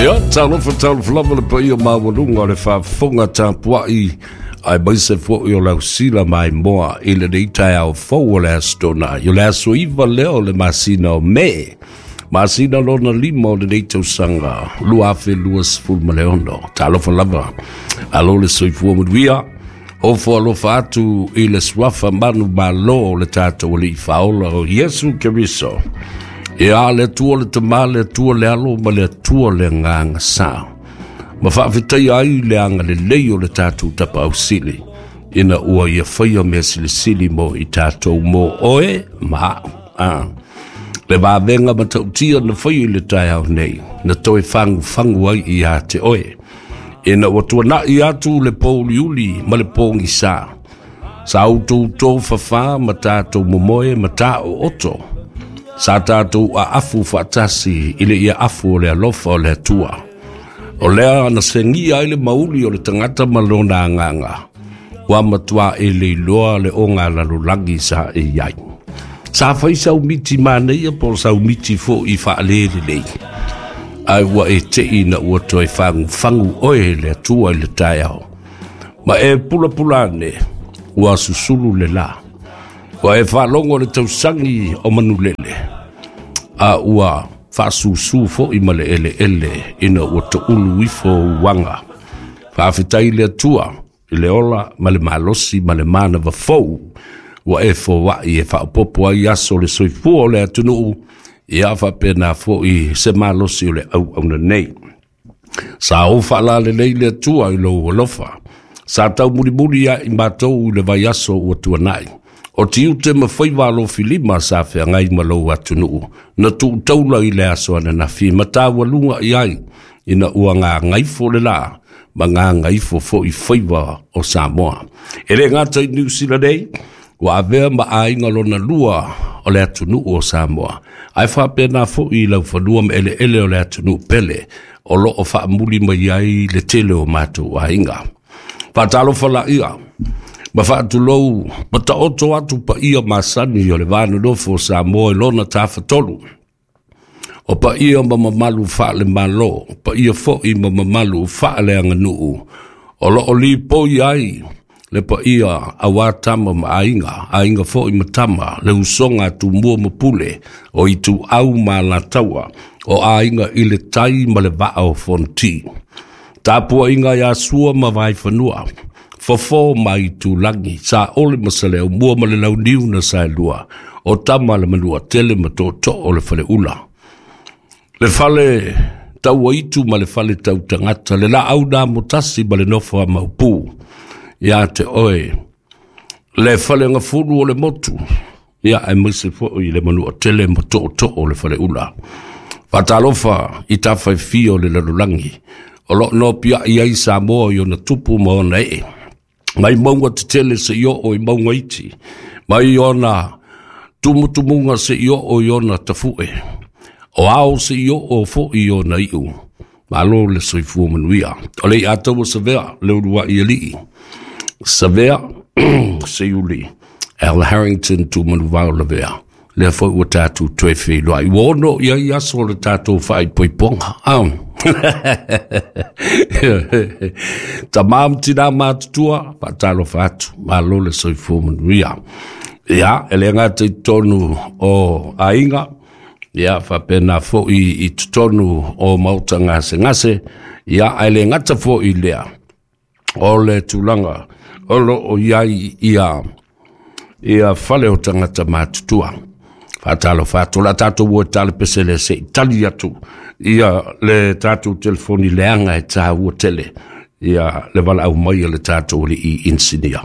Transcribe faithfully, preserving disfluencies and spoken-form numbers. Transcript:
Ia, talofa talofa lava le paia maualuga o le faafofoga tapuai aemaise foi o le ausila maimoa i lenei taeao fou o le Aso Toonai. O le aso iva lea o le masina o Me, masina lona lima o lenei tausaga lua afe luasefulu ma le ono. Talofa lava, alo le soifua manuia, ofo alofa atu i le suafa manu malo o le tatou Alii Faaola o Iesu Keriso. Ia, le Atua le Tama, le Atua le Alo ma le Atua le Agaga Sa. Ma faafetaia ai le agalelei o le tatou Tapaau Sili, ina ua ia faia mea silisili mo i tatou, mo oe ma a'u. Ah. Le vavega matautia na faia i le taeao nei, na toe fagufagu ai ia te oe. Ina ua tuana'i atu le pouliuli ma le pogisa, sa outou tofafā ma tatou momoe ma taooto, sa tatou aafu faatasi i le ia afu o le alofa o le Atua. O lea na segia ai le mauli o le tagata ma lona agaga, ua matua e leiloa le oga lalolagi sa e i ai. Sa fai sau miti manaia po o sau miti fo'i faalelelei, ae ua e te'i na ua toe fagufagu oe le Atua i le taeao. Ma e pulapula ane, ua susulu le la. Ua e faalogo le tausagi o manulele, a ua faasusū fo'i ma le eleele ina ua toulu ifo uaga. Faafetai le Atua i le ola ma le malosi ma le manava fou ua e foa'i e faaopoopo ai aso o le soifua o le atunuu, ia faapena fo'i se malosi o le auauna nei. Sa ou faalalelei le Atua i lou alofa. Sa taumulimuli ai matou i le vaiaso ua tuanai. O tiute ma faiva alofilima sa feagai ma lou atunuu, na tuutaula i le aso ananafi ma taualuga i ai, ina ua gagaifo le la, ma gagaifo fo'i faiva o Samoa. E le gata i Niu Sila nei, ua avea ma aiga lona lua o le atunuu o Samoa, ae faapena fo'i i laufanua ma eleele o le atunuu pele, o loo faamuli mai ai le tele o matou aiga. Faatalofa laia, ma faatulou ma taoto atu paia masani o le vanonofo o Samoa i lona tafatolu. O paia ma mamalu faale-Malo, paia fo'i ma mamalu faaleaganuu, o loo lipoi ai le paia auā tama ma aiga, aiga fo'i ma tama, le usoga a Tumua ma Pule, o Ituau ma Alataua, o aiga i le tai ma le vaa o Fonoti. Tapuaiga ia Sua ma Vaifanua, Fofo ma Aitulagi, Saole ma Saleaaumua ma le Launiu na Saelua, o Tama le Manuatele ma Tootoo o le Faleula. Le fale tauaitu ma le fale tautagata, le laau na motasi ma le nofo a Maopu, ia te oe, le fale gafulu o le motu, ia aemaise fo'i le Manuatele ma Tootoo o le Faleula. Faatalofa i tafa e fia o le lalolagi, o loo nopiai ai Samoa i ona tupu ma ona ee. Mai mauga tetele seia oo i mauga iti, mai ona tumutumuga seia oo i ona tafu'e, o ao seia oo fo'i i ona iu. Malo le soifua manuia. O le iataua Savea, le uluai alii. Savea, Seiuli, Al Harrington Tumanuvao Lavea. Lea foi ua tatou toe feiloai. Ua ono i ai aso o le tatou faaipoipoga. Ah. Tamā ma tinā matutua, faatalofa atu, malo le soifua manuia. Ia, e le gata i totonu o aiga, ia faapena fo'i i totonu o maota gasegase, ia ae le gata fo'i lea, o le tulaga o loo i ai ia ia fale o tagata matutua. Faatalofa atu, o le a tatou o e tale pese le se i tali atu ia le tatou telefoni leaga e tāua tele ia le valaau mai a le tatou alii inisinia.